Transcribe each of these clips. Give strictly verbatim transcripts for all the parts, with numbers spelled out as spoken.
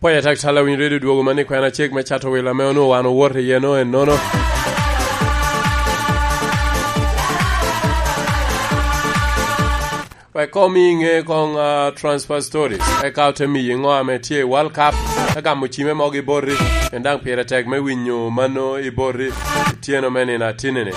Pwony atek, Tala Winy Radio dwogo man i kwena cik me cato wil ame onwoŋo wan owoto iye no ennono. Wek komi iŋe koŋ, ah, transfer stories. Eka ote miyi ŋo ame tye i World Cup, ka gamo cime mogo i boti, en daŋ pire tek me winyo mano i boti, ityeno me nino atinini.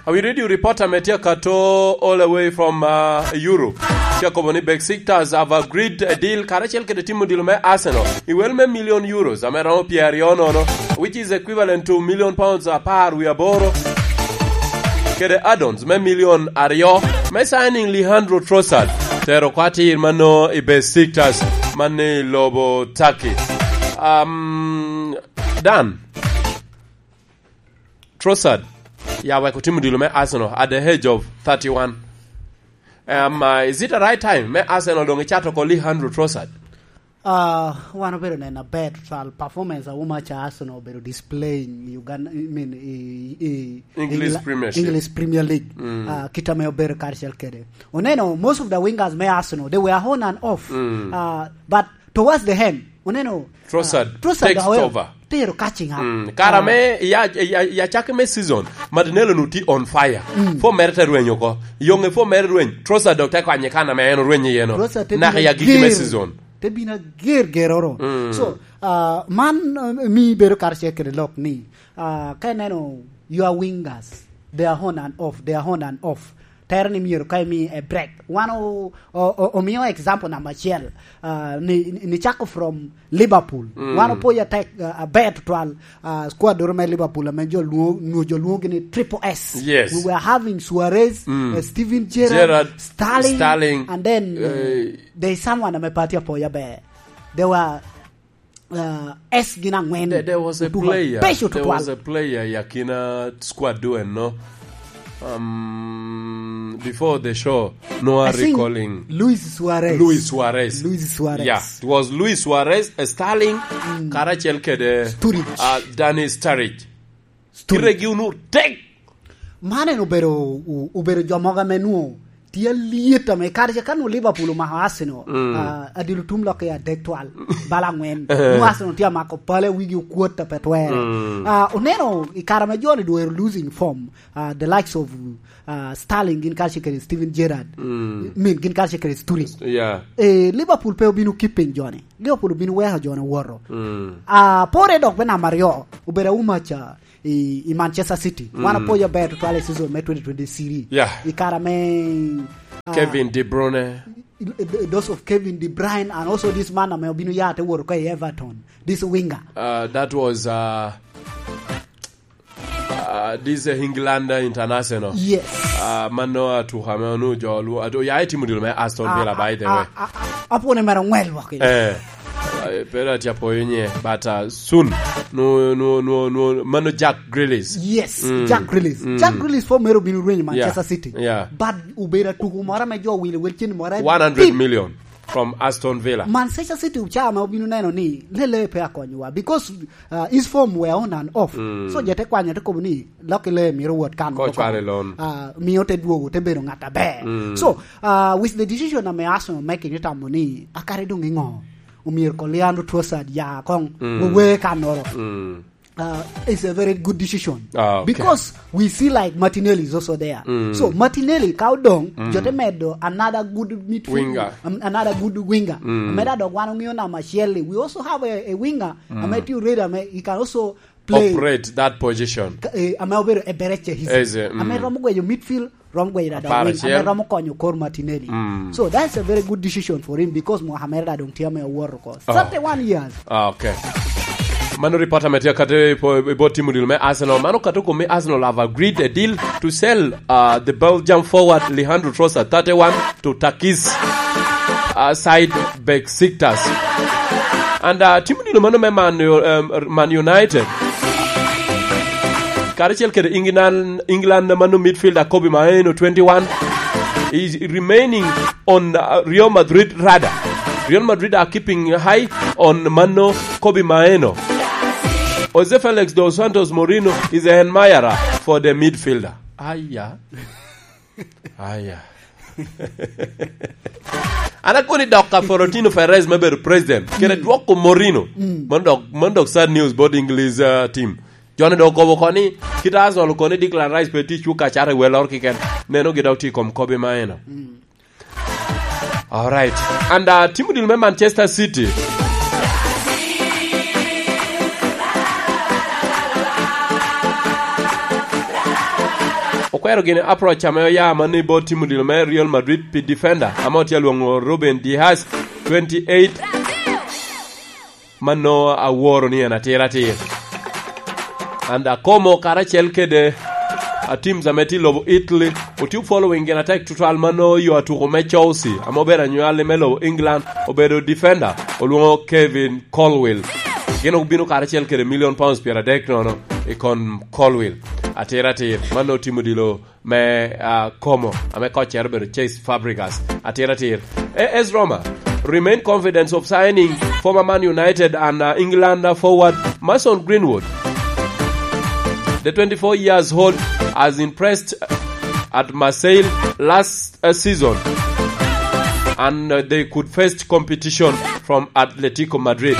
Awi radio reporter me tye akato all the way from, uh, Europe. Tye akobo ni Besiktas have agreed a deal karacel kede timo dilo me Arsenal i wel me million euros ame romo pyeraryo nono, which is equivalent to million pounds apar wi aboro, kede add-ons me million aryo me signing Leandro Trossard, tero oko atir mano i Besiktas, mano i lobo Turkey. Um, Dan, Trossard ya wek otimo dilo me Arsenal at the age of thirty-one. Um, uh, is it the right time me Arsenal doŋ icato oko Leandro Trossard? Ah, wan obedo neno aber tutwal performance a Umacha Arsenal obedo displaying i Uganda, I mean, i, i English Engla-, Premiership. English Premier League. Mm. Ah, kit ame obedo karacel kede. Oneno, most of the wingers me Arsenal, they were on and off. Mm. Ah, but towards the end, oneno, Trossard ah, Trossard takes over. Tero catching up. Mm. Kara ah, me ya, ya, ya cake me season, Martinelli nu ti on fire. Mm. Fo mere te rweny oko. Yonge fo mere rweny. Trossard dok te kwanye kan ame en orweny iye no. Trossard te naka bino ya gigi me ger. Season. Te bino ager geroro. Mm. So, ah, man, ah, mi bedo karacel kede lok ni, ah, ka ineno your wingers, they are on and off, they are on and off. Tero ni myero ka imi a break. Wan o-, o-, o-, omio example number acel, ah, ni, ni, ni cako from Liverpool. Mm. Wan opoyo atek, ah, aber tutwal, ah, squad doro me Liverpool, ame jo lwo-, nwo jo lwoŋogi ni Triple S. Yes. We were having Suarez, mm, uh, Steven Gerrard, Gerrard, Sterling, Sterling, and then, uh, eh, there is someone ame pe atye apoyo aber. There were, uh, S gin angwen. There, there was a otugo player, mabeco there tutwal. Was a player i akina squad du enno. Um, before the show, no, I think recalling Luis Suarez. Luis Suarez. Luis Suarez. Yeah, it was Luis Suarez, uh, Sterling, mm, karacel kede, Sturridge. Uh, Dani Sturridge. Sturridge. Kiregi unu tek. Man en obedo, o-, obedo jo mogo ame nwo tye alyet ame kare ca ka nwo Liverpool omako Arsenal, mm, ah, adilo tum lok i adek twal, bala angwen. Nwo Arsenal tye amako pale, wigi okwot a pe twere. Mm. Ah, oneno i kare ame jo-ni dwero losing form, ah, the likes of, ah, Sterling gin karacel kede Steven Gerrard. Mm. Min gin karacel kede Sturridge. Yeah. Eh, Liverpool pe obino keeping jo-ni. Liverpool obino weko jo-ni owoto. Mm. Ah, pore dok me namba aryo, obedo Aumacha i, i Manchester City. Mm. Wan opoyo aber tutwal i season me twenty twenty-three. Yeah. I kare me, ah, Kevin De Bruyne. I, i, those of Kevin De Bruyne and also this man ame obino ya te woto ka i Everton. This winger. Uh, that was, uh, uh, this, uh, England, uh, international. Yes. Uh, mano atuka me onu jo lu-, atu-, ya itimo dilo me Aston Villa, ah, by the way. Ah, ah, ah, apwone mere ongwel waki. Eh. Eh, pero atye apoyo nye, but, uh, soon. No, no, no, no, mano Jack Grealish. Yes, mm, Jack Grealish. Mm. Jack Grealish fo mere obino rwenyo Manchester, yeah, City. Yeah. But obedo atuko moro ame jo owilo wel cen moro one hundred million from Aston Villa. Manchester City oca ma obino neno ni lele pe akonyowa because, uh, his form were on and off. Mm. So je te kwanyo te kobo ni Lucky Lay myero owot kan. Ka ocwalo i loan. Ah, mio te dwogo, te bedo ngat aber. Mm. So, ah, with the decision ame Arsenal making, itamo ni, akare dong ingo? Omyero ko Leandro Trossard ya kong, mm, wewe kannoro. Mm. Ah, it's a very good decision. Ah, okay. Because we see, like, Martinelli is also there. Mm. So, Martinelli ka odong, mm, jo te medo another good midfield, winger. Um, another good winger. Mm. Ameda dok wan ong'eyo namba acel-li. We also have a, a winger, mm, ame tye ready, ame he can also play. Operate that position. Ka, eh, ame obedo Eberechi Eze. Eze, mm. Ame romo gweyo midfield, romo gweyo da Dawin, ame romo konyo kor Martinelli. Mm. So that's a very good decision for him because Mohamed da dong tye ame owoto oko. Oh. Thirty-one years. Ah, okay. Mano reporter me tye kate i po-, i bot timo dilo me Arsenal. Mano kato kome Arsenal have agreed a deal to sell, uh, the Belgium forward Leandro Trossard, thirty-one, to Turkey's, uh, side Besiktas. And, uh, timo dilo mano me Man U-, um, Man United. Karacel kede England, England mano midfielder Kobe Maeno, twenty-one, is remaining on, uh, Real Madrid radar. Real Madrid are keeping high on mano Kobe Maeno. Jose Felix dos Santos Moreno is an admirer for the midfielder. Aya. Aya. An akobo ni dok ka Florentino Perez me bedo president, kede dwoko Mourinho. Mm. Mano dok, mano dok sad news bot English, uh, team. Jo-ni dok okobo oko ni, kit Arsenal okobo ni Declan Rice pe tye i cuk acata i welloro keken. Neno gi dok tye i kom kobi ma eno. Mm. All right. And, uh, team odilo me Manchester City. Okwero gini approach ame oya mani bot team odilo me Real Madrid pi defender, ame otye alwoŋo Ruben Dias, twenty-eight. Mano aworo ni en atir atir. And akomo karacel kede a teams ame tye i lobo Italy, otye following gin atek tutwal mano yo atuko me Chelsea, ame obedo anywali me lobo England, obedo defender, olwoŋo Kevin Colwill. Gin obino karacel kede million pounds pyeradek nono i kom Colwill. Atir atir, mano team odilo me, ah, Como, ame koccere obedo Cesc Fabregas. Atir atir. A S Roma remain confident of signing former Man United and, uh, England, uh, forward Mason Greenwood. The twenty-four years old has impressed at Marseille last, uh, season, and, uh, they could face competition from Atletico Madrid.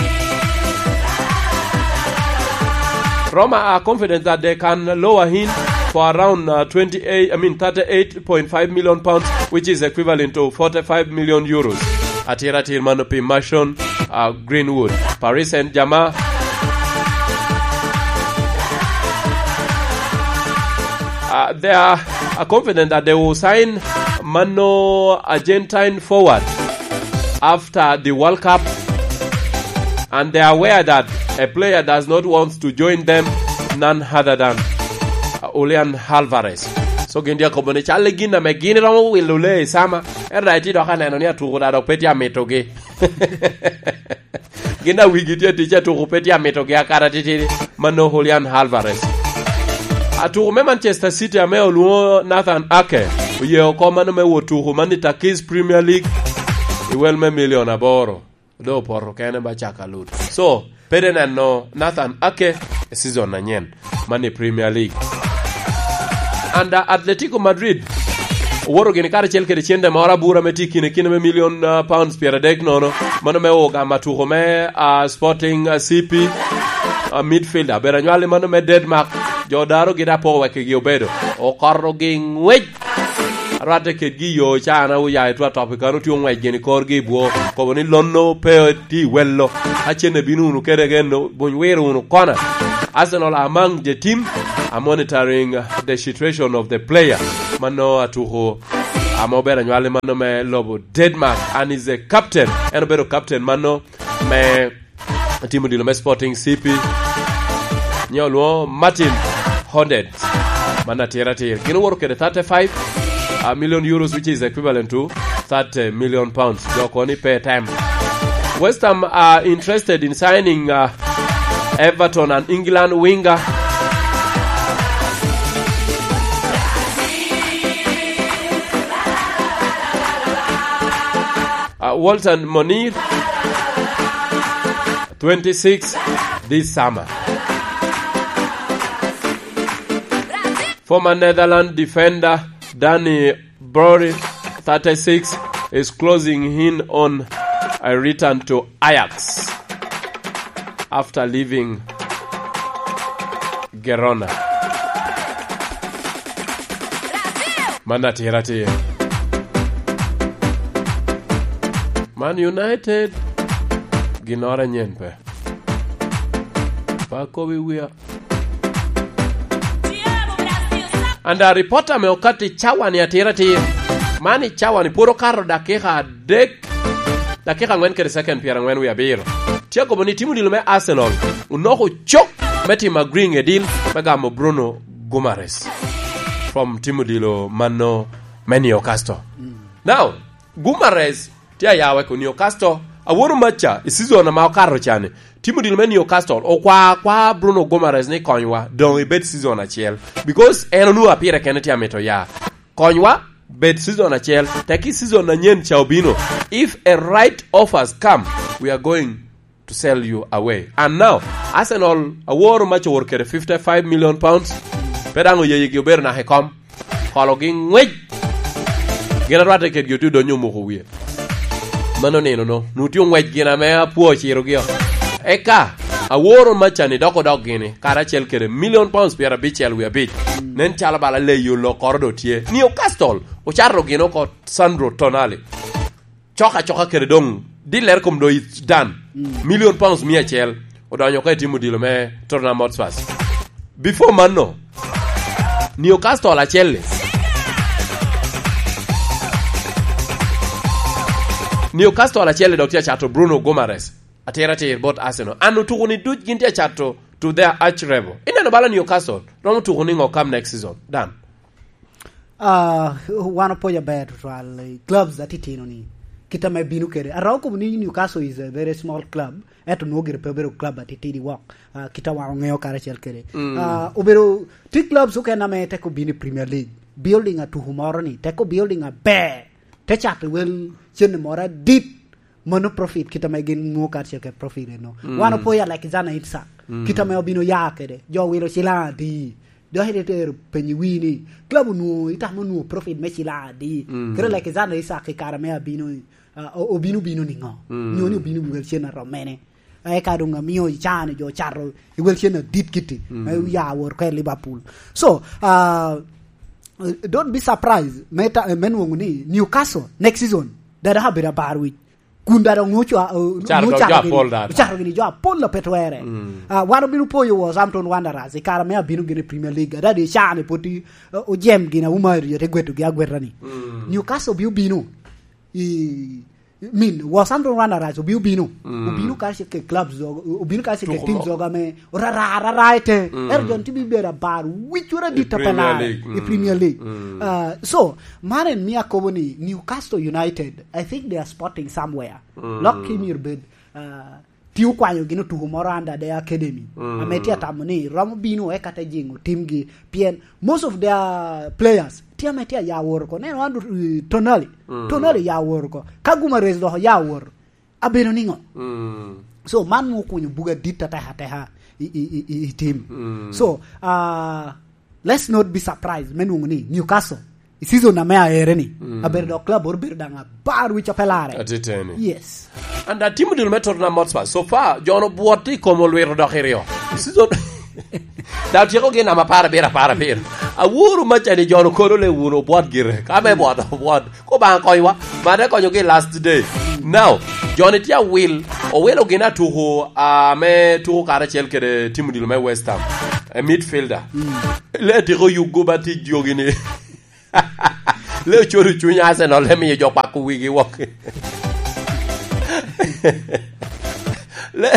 Roma are confident that they can lower him for around, uh, twenty-eight, I mean, thirty-eight point five million pounds, which is equivalent to forty-five million euros. Atir atir mano pi Mason, uh, Greenwood. Paris Saint-Germain, uh, they are, are confident that they will sign mano Argentine forward after the World Cup, and they are aware that a player does not want to join them, none other than, uh, Julian Alvarez. So gin dya kobo ni cal gin ame gin romo wilo le i sama, en daŋ itye dok aneno ni atuko daŋ dok pe tye amitogi. Gin a wigi tye atic atuko pe tye amitogi akata titidi, mano Julian Alvarez. Atuko me Manchester City ame olwoŋo Nathan Ake oye oko mano me wot tuko man i Turkey's Premier League i wel me milion aboro. Doŋ opoto kene ba caka lut. So, pe de neno Nathan Ake i season anyen man i Premier League. And, uh, Atletico Madrid owoto gini karacel kede cente moro abura me tye kine kine me million, uh, pounds pyeradek nono. Mano me ogamo atuko me, uh, Sporting, uh, C P, uh, midfielder. Bedo anywali mano me Denmark. Jo daro gin apoko wek igi obedo. Okoto gi ngwec. Arwatte kedgi i yo can a oya i Twa Top i kano tye oŋwec gin i korgi i bwo. Kobo ni lonno pe tye i wello. Acenne bino wunu kede geno, buny wiro wunu kona. Arsenal among the team are monitoring the situation of the player. Mano atuko ame obedo anywali mano me lobo Denmark and is a captain. En obedo captain mano me team odilo me Sporting C P. Nyo olwoŋo Martin Honded. Man atir atir. Gin owoto kede thirty-five, uh, million euros, which is equivalent to thirty million pounds. Jo kono ni pay time. West Ham are interested in signing, uh, Everton and England winger, uh, Walton Monir, twenty-six, this summer. Former Netherlands defender Danny Brory, thirty-six, is closing in on a return to Ajax after leaving Girona. Man atir atir. Man United, ginnoro anyen pe. Pa kobi wia. And a reporter me okati cawa ni atir atir. Man i cawa ni pwod okato dakika adek, dakika angwen kede second pyerangwen wie abiro. Tye akobo ni team odilo me Arsenal onoko cok me timo agreeing a deal me gamo Bruno Guimaraes from team odilo mano me Newcastle. Mm. Now, Guimaraes tye aya weko Newcastle. Aworo maca i season ama okato cani. Team odilo me Newcastle okwa akwa Bruno Guimaraes ni konywa, doŋ ibed season acel. Because en onwoŋo apire kene tye amito ya. Konywa, bed season acel, teki season anyen ca obino. If a right offers come, we are going to sell you away. And now, Arsenal aworo mac owor kede fifty-five million pounds. Pe daŋ oyeyegi obedo naka i kom. Kologi ngwec. Gin arwatte kedgi otye odonyo omoko wie. Mano nino no, nu tye ongwec gin ame apwo ociro gi o. Eka, aworo macani dok odok gini, karacel kede million pounds piero abicel wie abic. Nen calo bala leyo lokoro do tye. Newcastle, ocato gin oko Sandro Tonali. Coka coka kede dong, dillere kom do it's done. Million pounds mia acel, odonyo ka itimo dilo me Tottenham Hotspur. Before mano, Newcastle acel-li. Newcastle acel-li dok tye acato Bruno Guimaraes. Atira atir bot Arsenal. An otuko ni duc gin tye acato to their arch rival. Ineno bala Newcastle, romo tuko ni ngo kam next season? Dan. Ah, wan opwoc aber tutwal i clubs atitino ni. Kita me bino kede. Arao kobo ni Newcastle is a very small club. Eto nwo gire pe obedo club atitidi wok. Ah, kita wan ongeo karacel kede. Ah, obedo ti clubs okene ame teko bino i Premier League. Building a tuku moro ni. Teko building a ber. Te cato wel cene moro adit. Mano profit, kita me gin nwo karacel kede profit eno. Wan opwoyo Alexander Isak. Kita me obino ya kede. Jo wilo cilang adi. Dok ite tero penyi wi ni, club onwo, itamo nwo profit me cilang adi. Kede Alexander Isak i kare me abino, ah, o-, obino bino ni ngo? Nyo ni obino wel cen arom mene? Eka dong amio icane jo cato i wel cen adit kiti. Me ya wor ko i Liverpool. So, ah, don't be surprised. Me ta-, me nwoŋo ni Newcastle next season, dada abedo abar wic. Kun dada oŋo ca-, o-, Ocato oŋo jo cato gini, apol dada. Ocato gini jo apol a pe twere. Ah, wan obino poyo Wolverhampton Wanderers i kare me abino gini i Premier League. Adada icane pwod i, o-, ojem gini auma ri te gweto gi agweta ni. Newcastle obino bino. I, min, Wolverhampton Wanderers obino bino. Obino karacel ke clubs, o-, obino karacel ke teams oga me orara, orara ite. Ero jon tibi bedo abar wic wura I dit Premier apelare League. I Premier League. Ah, so, man en mi akobo ni Newcastle United, I think they are spotting somewhere. Lok ki myero bed, ah, ti okwanyo gin otuko moro under their academy. Ame ti atamo ni romo bino eka te jingo timgi. Pien most of their players ti ame ti aya woro ko. Neno Andrew, eh, Tonali. Tonali ya woro ko. Ka Guimaraes dok ya woro. Abedo niŋo? So, man nwoŋo okunyo buga dit atek ateka i, i, i, i, i tim. So, ah, let's not be surprised me nwoŋo ni Newcastle, i season ame aere ni, abedo dok club oro bedo daŋ abar wic ope lare. Atiteni. Yes. And, uh, timo dul me Tottenham Hotspur. So far, jo-nu obwot i kom olwito dok i ryo. I season, daŋ otyeko gi namba apar abiro, apar abiro. Aworo macani jo-nu kono le wun obwot gire. Ka me bwot, obwot. Ko Obaŋa konywa, ma te konyogi last day. Now, jo-ni tye awil, owilo gin atuko, ah, ame tuko karacel kede tim odilo me West Ham. E midfielder. Le tiko yugo ba tic jogi ni. Le ocodo cuny Arsenal, le miyo jo kwako wigi wok. Le,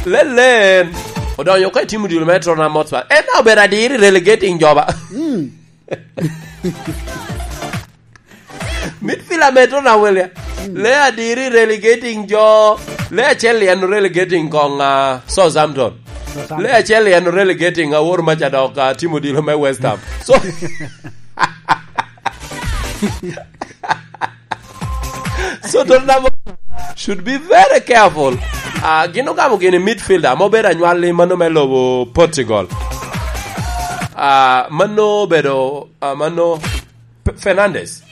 le, le, odonyo ka i tim odilo me Tottenham Hotspur. En obedo adiri relegating joba. Midfielder me Tottenham Hotspur. Le adiri relegating jo. Le acel en relegating kong, ah, Southampton. Southampton. Le acel en relegating awor maca dok, ah, tim odilo me West Ham. So, so Tottenham should be very careful. Ah, gin ogamo gini midfielder, ma obedo anywalli mano me lobo Portugal. Ah, mano obedo, ah, mano P-, Fernandes.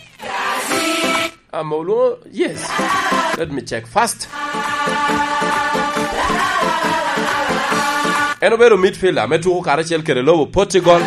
Um, olwoŋo, yes. Let me check first. En obedo midfielder me tuko karacel kede lobo Portugal.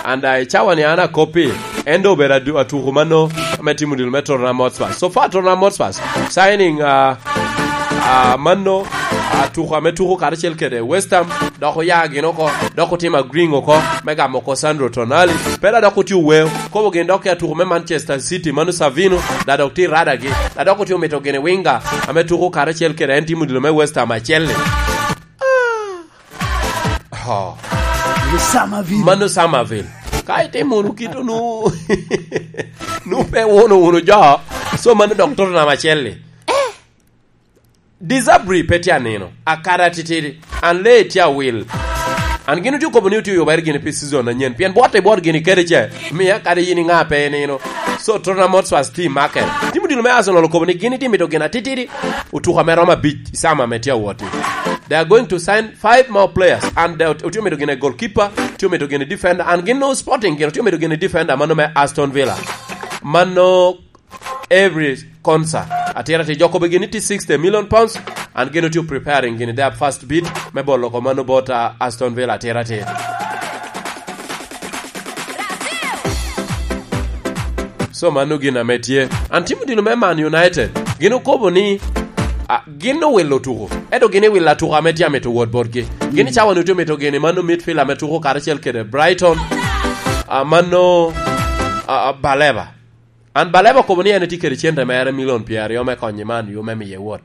And, uh, i cawa ni an akoppi, en do obedo adu-, atuko mano me timo dilo me Tottenham Hotspur. So far, Tottenham Hotspur signing, uh, uh, mano, uh, atuko ame tuko karacel kede West Ham, dok oya gin oko, dok otimo agreeing oko, me gamo oko Sandro Tonali. Pera dok otye oweo, kobo gin dok i atuko me Manchester City, mano Savino, da dok tye i radagi, da dok otye omito gini winga, ame tuko karacel kede en timo dilo me West Ham acel-li. Oh. Mano Summerville. Mano Summerville. Ka itimo wunu kito nu, nu pe wuno wunu jo, so mano dok Tottenham acel-li. Disabri pe tye anino, akada titidi, an lee tye awil. An gin otye okobo ni otye oyubere gini pi season anyen, pien bwotte bwot gini kede ce, miya kadi yin iŋa pe inino. So, Tottenham Hotspur team market. Tim odilo me Arsenal okobo ni gin itye mito gin atitidi, otuko ame romo abic i sama ame tye awot-ti. They are going to sign five more players, and they otye mito gini goalkeeper, otye mito gini defender, and gin no Sporting gin otye mito gini defender, mano me Aston Villa. Mano every concert. Atira ti joko be gini ti sixty million pounds, and gini ti preparing gini their first bid me bolo ko mano bot, uh, Aston Villa atira ti. So mano gin ame tye. An timo dino me Man United. Gin okobo ni, ah, gin owilo tuko. Eto gin owilo atuko ame tye amito wot botgi. Gin i cawa ni otye omito gini mano midfield ame tuko karacel kede Brighton. Ah, mano, ah, ah, Baleba. An Baleba okobo ni en etye kede cente mere milion pyeraryo me konyo Man U me miye wot.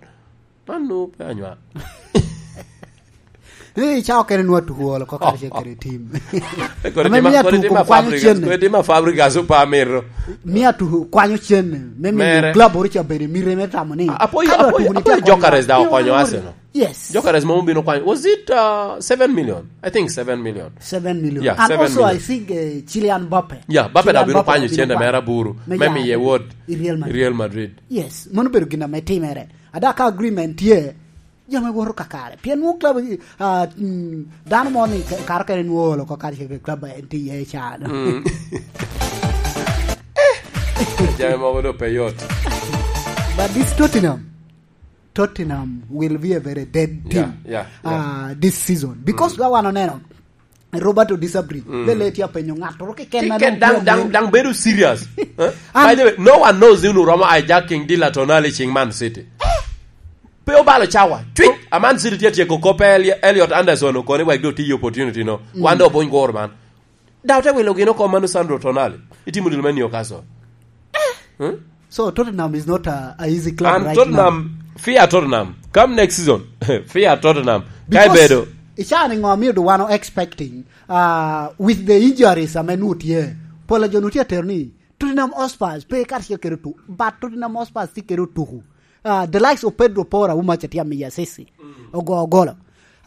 Man nu pe anywa. Ni cawa kene nwa tuko olo ko karacel kede tim. Kodi Ame tima, mia kodi tuko tima kwanyo Fabregas, cenne. Kodi tima Fabregas opa mito. Mia tuko kwanyo cenne. Me miyo Mere. Club oro ca bene mire me tamo ni. Apoyo, ka dwa apoyo, tuko ni apoyo tye Gyökeres da okonyo Arsenal. Yes. Gyökeres mom obino kwanyo. Was it, uh, seven million? I think seven million. Seven million. Yeah, And seven also, million. I think, uh, Kylian Mbappe. Yeah, Mbappe da Kylian obino Mbappe kwanyo obino cente kwanyo. Mere aburu. Me Me ya miye wot i Real Madrid. Real Madrid. Yes, mano bedo gin ame timere. Ada ka agreement tye, jami woto kakare. Pien nwoŋo club, ah, mm, dano mo ni ka-, karo kene nwoŋo olo ko kare cege club en tye iye can. Mm. Jami mogo do pe yot. But this Tottenham, Tottenham will be a very dead team, Yeah, yeah, yeah. Ah, this season. Because Mm. ka wan oneno, Roberto Di Sabri, Mm. lele tye apenyo ŋattoro keken Kiken na dang, dang, dang bedo serious. Eh? An By the way, no one knows ni unu romo hijacking Dila Tonali cing Man City. Pe obalo cawa. Cwiny! A Man City tye atyeko kop pe Eli-, Elliot Anderson okone wek do tiyo opportunity no. Mm. Wan do obuny goro man. Daw te wilo gino kom mano Sandro Tonali. Itimo dilo me Newcastle. Hmm? So Tottenham is not a, a easy club And right Tottenham, now. Fear Tottenham. Come next season, fear Tottenham. Ka Because ibedo. Icaa ni ŋo amio do wan o expecting, uh, with the injuries ame nu tye. Pol a jo nu tye atero ni Tottenham Hotspur pe kar cek kede tu, but Tottenham Hotspur tye kede otuku. Uh, the likes of Pedro Porro, wuma ca tye amiya sisi. Mm. Ogo golo.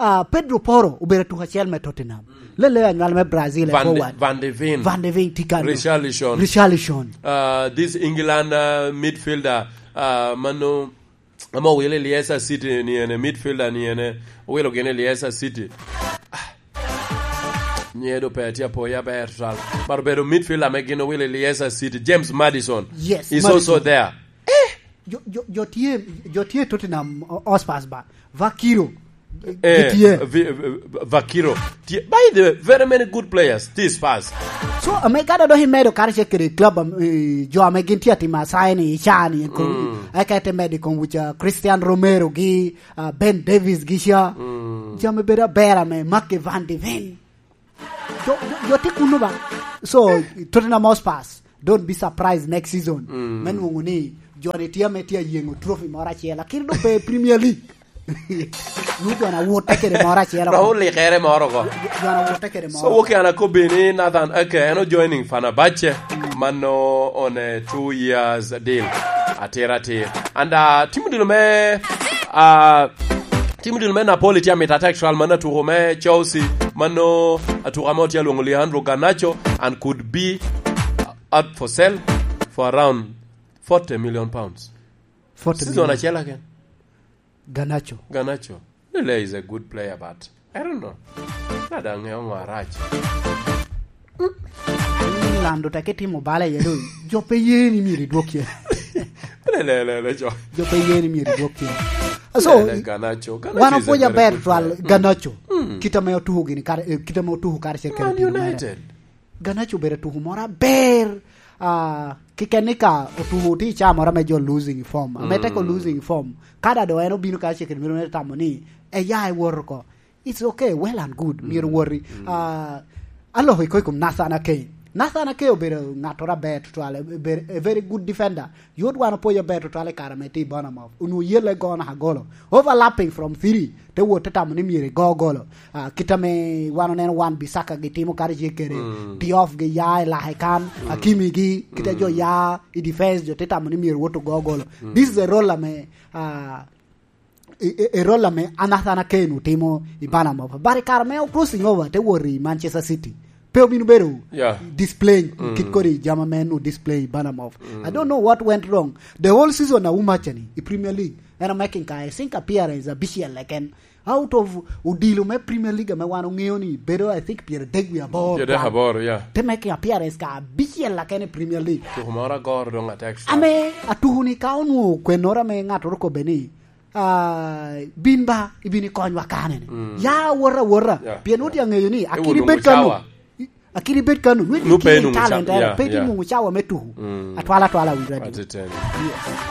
Ah, Pedro Porro obedo atuk acel me Tottenham. Mm. Lele anywal me Brazil e Van de, forward. Van de Ven. Van de Ven, Tikan. Richarlison. Richarlison. Ah, this England, ah, midfielder, ah, mano, amo wile Leicester City ni ene, midfielder ni ene, wilo gine Leicester City. Ah. Nye do pe tye apoya ber tutal. Mar bedo midfielder me gino wile Leicester City, James Maddison. Yes, is Maddison. Also there. Jo, jo, jo tye, jo tye Tottenham, o-, Hotspurs ba. Vakiro. Eh, Gitye. Vi-, vi-, Vakiro. Tye, by the way, very many good players. This pass. So, ame ka dok imedo kare ce kede club, am-, eh, jo ame gin tye atimo asaya ni i caa ni, ko-, Mm. eka ite medo i kom wica Christian Romero gi, ah, Ben Davies gi ca. Mm. Jo ame bedo aber ame Mark Van de Ven. Jo, jo, jo tye kuno ba. So, Tottenham Hotspurs, don't be surprised next season. Mm. Me nwoŋo ni, jo ni tye ame tye ayeŋo trophy moro acel. Lakini do pe Premier League. Nu jo na wote kede moro acel. Romo likere moro ko. Jo, jo na wote kede moro. So, woki an akobbi ni Nathan Ake, en o joining Fenerbahce. Mm. Mano on a two years deal. Atir atir. And, uh, timo dilo me, uh, Tim dil me Napoli tye amito atek twal man atuko me Chelsea, mano atuko ame otye alwoŋo Leandro Garnacho and could be out for sale for around forty million pounds. Forty million. Season acel aken. Garnacho. Garnacho. Lele is a good player, but I don't know. Na daŋ ŋeo ŋo arac. Lando teke timo bala iye do. Jo pe ye ni myero idwok ye. Le, le, le, le, jo. Jo pe ye ni myero idwok ye. So, le, le, Garnacho. Garnacho wan is a opwoc very aber good twal player. Garnacho. Mm. Kit ame otuko gini kare, eh, kit ame otuko kare cek kare Man timo mere. United. Garnacho obedo atuko moro aber. Ah, kiken ni ka otuko ti ca moro ame jo losing form. Ame teko Mm. losing form. Kada do en obino kare cek kare miro ne tamo ni, e ya e woro ko. It's okay, well and good. Mm. Myero wori. Mm. Ah, aloko iko i kom Nathan Ake. Nathan Ake obedo ŋattoro aber tutwal, a very, a very good defender. Yot wan opwoyo aber tutwal i kare ame tye i Bournemouth. Onwoŋo yelle go naka golo. Overlapping from three, te wot te tamo ni myero igo golo. Ah, kit ame wan oneno wan Bissaka gi timo kare tye kede. Mm. Diouf gi ya i lake kan, Mm. Hakimi gi, kit a jo Mm. ya i defense, jo te tamo ni myero wot ogo golo. Mm. This is a role ame, ah, e, e, e role ame Nathan Ake timo i Bournemouth. But i kare me crossing over te wot i Manchester City, pe obino bedo Yeah. displaying Mm. kit kodi jama me nu display i Bournemouth. Mm. I don't know what went wrong. The whole season na Umacha ni i Premier League, En a making ka, I think, appearance abicel keken. Out of odilo me Premier League ame wan oŋeo ni bedo, I think, pyeradek wie aboro. Pyeradek aboro, yeah. Te making appearance ka abicel keken i Premier League. Tuko moro agoro doŋ atek. Ame atuko ni ka onwoŋo kwennoro ame ŋattoro kobbe ni, ah, "Bin ba, ibin ikonywa kanene." Mm. Ya awota awota. Yeah, pien yeah. Wot aŋeyo ni akidi bed kano. Akidi bed kano. Nwe pe inwoŋo talent, yeah, pe yeah. Inwoŋo cawa me tuko. Mm. Atwala atwala wi radio. Atiteni. Yes.